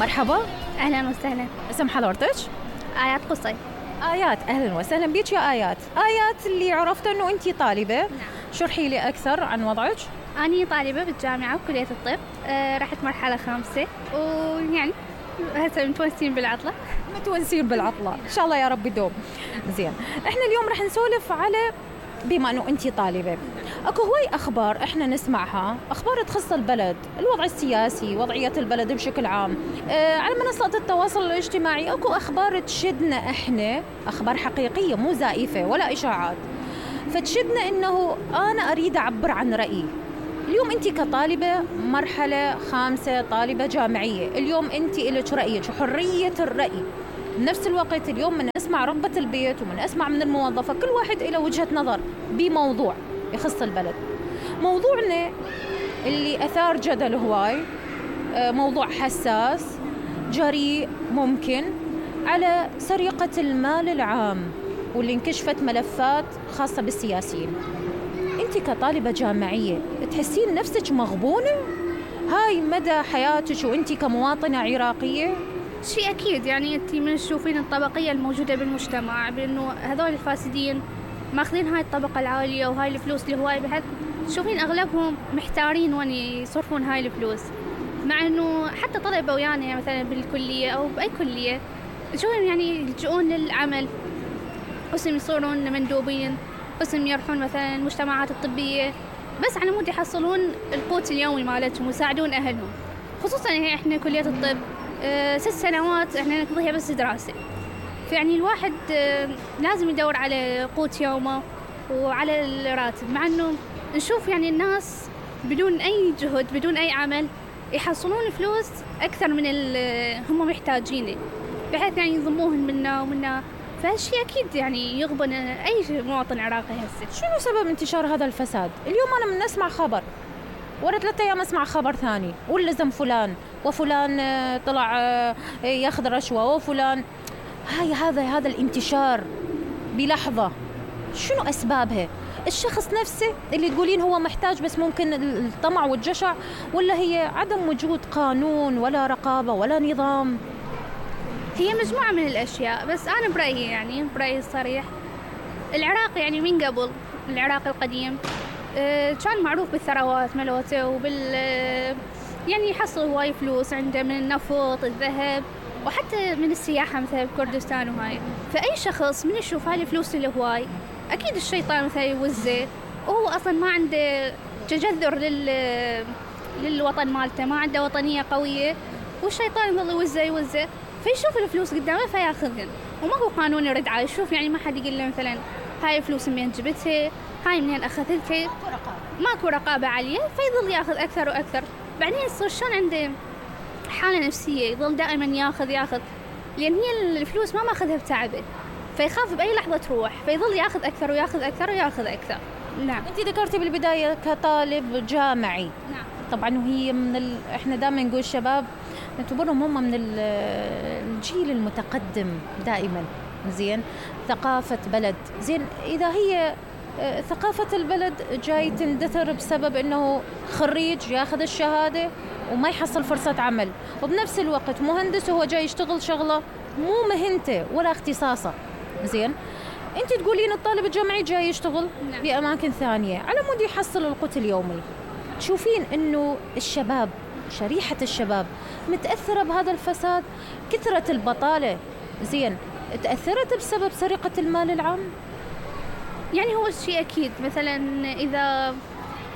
مرحبا. أهلا وسهلا. اسم حضرتك؟ آيات قصي. آيات، أهلا وسهلا بيك يا آيات. آيات، اللي عرفته أنه أنتي طالبة. نعم. شرحي لي أكثر عن وضعك. أنا طالبة بالجامعة بكلية الطب. رحت مرحلة 5 ويعني هسه متونسين بالعطلة. متونسين بالعطلة إن شاء الله يا رب يدوم. زين، إحنا اليوم رح نسولف على، بما أنه أنتي طالبة، أكو هواي أخبار إحنا نسمعها، أخبار تخص البلد، الوضع السياسي، وضعية البلد بشكل عام. على منصات التواصل الاجتماعي أكو أخبار تشدنا إحنا، أخبار حقيقية مو زائفة ولا إشاعات، فتشدنا إنه أنا أريد أعبر عن رأيي. اليوم أنت كطالبة مرحلة 5 طالبة جامعية، اليوم أنت إلك رأيك وحرية الرأي. بنفس الوقت اليوم من أسمع ربة البيت ومن أسمع من الموظفة، كل واحد إلى وجهة نظر بموضوع يخص البلد. موضوعنا اللي أثار جدل هواي، موضوع حساس جريء ممكن، على سرقة المال العام، واللي انكشفت ملفات خاصة بالسياسيين. أنت كطالبة جامعية تحسين نفسك مغبونة هاي مدى حياتك وأنت كمواطنة عراقية؟ شيء أكيد، يعني أنت من تشوفين الطبقية الموجودة بالمجتمع، بأنه هذول الفاسدين ماخذين هاي الطبقة العالية وهاي الفلوس اللي هواي، بحيث تشوفين أغلبهم محتارين وين يصرفون هاي الفلوس. مع أنه حتى طلبة ويانا مثلا بالكلية أو بأي كلية تشوفين يعني يلجؤون للعمل، قسم يصيرون مندوبين، قسم يروحون مثلا المجتمعات الطبية، بس على مود يحصلون القوت اليومي مالتهم ويساعدون أهلهم. خصوصا إحنا كلية الطب 6 سنوات إحنا نقضيها بس دراسة، فيعني الواحد لازم يدور على قوت يومه وعلى الراتب. مع إنه نشوف يعني الناس بدون أي جهد بدون أي عمل يحصلون فلوس أكثر من هم محتاجينه، بحيث يعني يضموهن منا ومنا. فهالشيء أكيد يعني يغبن أي مواطن عراقي هسه. شنو سبب انتشار هذا الفساد؟ اليوم أنا من أسمع خبر، ورا 3 أيام أسمع خبر ثاني، ولزم فلان وفلان طلع ياخذ رشوة وفلان. هذا الانتشار بلحظة، شنو أسبابها؟ الشخص نفسه اللي تقولين هو محتاج، بس ممكن الطمع والجشع، ولا هي عدم وجود قانون ولا رقابة ولا نظام؟ هي مجموعة من الأشياء، بس أنا برأيي يعني برأيي الصريح، العراق يعني من قبل، العراق القديم كان معروف بالثروات ملوته يعني يحصل هواي فلوس عنده من النفط، الذهب، وحتى من السياحة مثلا بكردستان وهاي. فأي شخص من يشوف هاي الفلوس اللي هواي، أكيد الشيطان مثلا يوزه، وهو أصلا ما عنده تجذر للوطن مالته، ما عنده وطنية قوية، والشيطان يظل يوزه فيشوف الفلوس قدامه فياخذهن، وما هو قانون يرد عليه. يشوف يعني ما حد يقول له مثلا هاي الفلوس منين جبتها، هاي منين أخذتها، ماكو رقابة عليه، فيظل ياخذ أكثر وأكثر. بعدين يصير شلون عنده حالة نفسية، يظل دائما ياخذ، لأن هي الفلوس ما ماخذها بتعبه، فيخاف بأي لحظة تروح، فيظل ياخذ أكثر وياخذ أكثر وياخذ أكثر. نعم. أنت ذكرتي بالبداية كطالب جامعي. نعم. طبعا وهي إحنا دائما نقول الشباب نعتبرهم هم من الجيل المتقدم دائما. زين، ثقافة بلد، زين إذا هي ثقافة البلد جاي تندثر بسبب إنه خريج ياخذ الشهادة وما يحصل فرصة عمل، وبنفس الوقت مهندس وهو جاي يشتغل شغلة مو مهنته ولا اختصاصه. زين، أنت تقولين الطالب الجامعي جاي يشتغل بأماكن ثانية على مود يحصل القوت اليومي. تشوفين إنه الشباب، شريحة الشباب متأثرة بهذا الفساد؟ كثرة البطالة زين تأثرت بسبب سرقة المال العام؟ يعني هو الشيء أكيد، مثلا إذا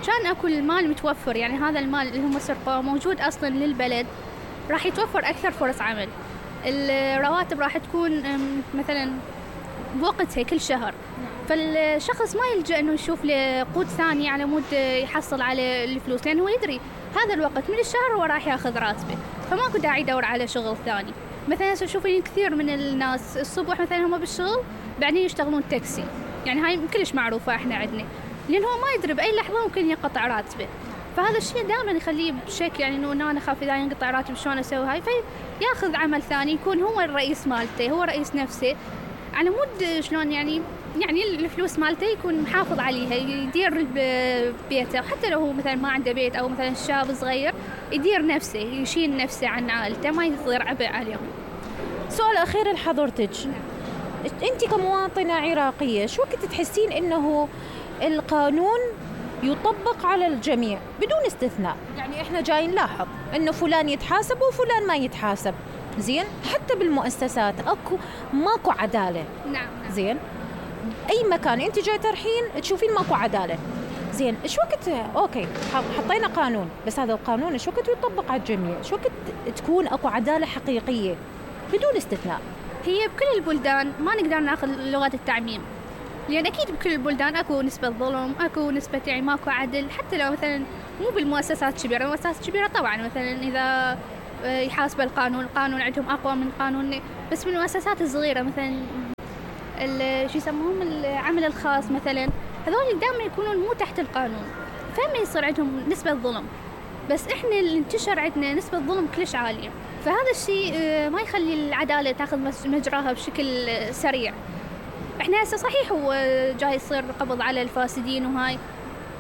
كان أكو المال متوفر، يعني هذا المال اللي هم سرقوه موجود أصلا للبلد، راح يتوفر أكثر فرص عمل، الرواتب راح تكون مثلا بوقتها كل شهر، فالشخص ما يلجأ إنه يشوف له قوت ثاني على مود يحصل على الفلوس، لأنه هو يدري هذا الوقت من الشهر هو راح ياخذ راتبه، فماكو داعي يدور على شغل ثاني. مثلا تشوفين كثير من الناس الصبح مثلا هم بالشغل بعدين يشتغلون تاكسي، يعني هاي كلش معروفة احنا عندنا، لأنه هو ما يدري بأي لحظة ممكن ينقطع راتبه، فهذا الشيء دائما يخليه بشك، يعني إنه أنا أخاف إذا ينقطع راتب شلون أسوي هاي، فياخذ عمل ثاني يكون هو الرئيس مالته، هو رئيس نفسه، على مود شلون يعني يعني الفلوس مالته يكون محافظ عليها، يدير بيته، حتى لو هو مثلا ما عنده بيت أو مثلا شاب صغير يدير نفسه، يشيل نفسه عن عائلته، ما يصير عبء عليهم. سؤال أخير لحضرتك، أنت كمواطنة عراقية شو وقت تحسين إنه القانون يطبق على الجميع بدون استثناء؟ يعني إحنا جاي نلاحظ إنه فلان يتحاسب وفلان ما يتحاسب، زين؟ حتى بالمؤسسات ماكو عدالة. نعم. زين؟ أي مكان أنت جاي ترحين تشوفين ماكو عدالة. زين، إيش وقت أوكي حطينا قانون، بس هذا القانون إيش وقت يطبق على الجميع؟ إيش وقت تكون أكو عدالة حقيقية بدون استثناء؟ هي بكل البلدان ما نقدر ناخذ لغة التعميم، لأن أكيد بكل البلدان أكو نسبة ظلم، أكو نسبة يعني ماكو عدل، حتى لو مثلا مو بالمؤسسات الكبيرة. المؤسسات الكبيرة طبعا مثلا إذا يحاسب القانون عندهم أقوى من قانون، بس بالمؤسسات الصغيرة مثلا شو يسموهم العمل الخاص مثلا، هذول دائما يكونون مو تحت القانون، فما يصير عندهم نسبة ظلم. بس إحنا اللي انتشر عندنا نسبة ظلم كلش عالية، فهذا الشيء ما يخلي العدالة تاخذ مجراها بشكل سريع. إحنا هسه صحيح هو جاي يصير قبض على الفاسدين وهاي،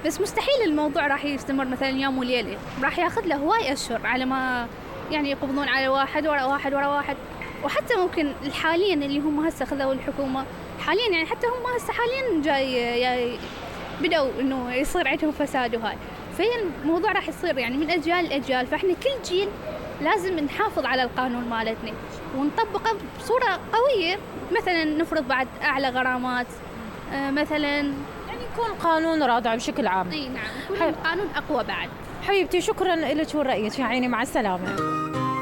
بس مستحيل الموضوع راح يستمر مثلا يوم وليلة، راح ياخذ له هواي أشهر على ما يعني يقبضون على واحد ورا واحد ورا واحد. وحتى ممكن حاليا اللي هم هسه خذوا الحكومة حاليا، يعني حتى هم هسه حاليا جاي بدأوا إنه يصير عندهم فساد وهاي، فهي الموضوع راح يصير يعني من أجيال لأجيال. فإحنا كل جيل لازم نحافظ على القانون مالتنا ونطبقه بصورة قوية، مثلا نفرض بعد أعلى غرامات مثلا، يعني يكون قانون رادع بشكل عام. أي نعم، يكون القانون أقوى بعد. حبيبتي شكرا لك ورأيك، يا عيني، مع السلامة.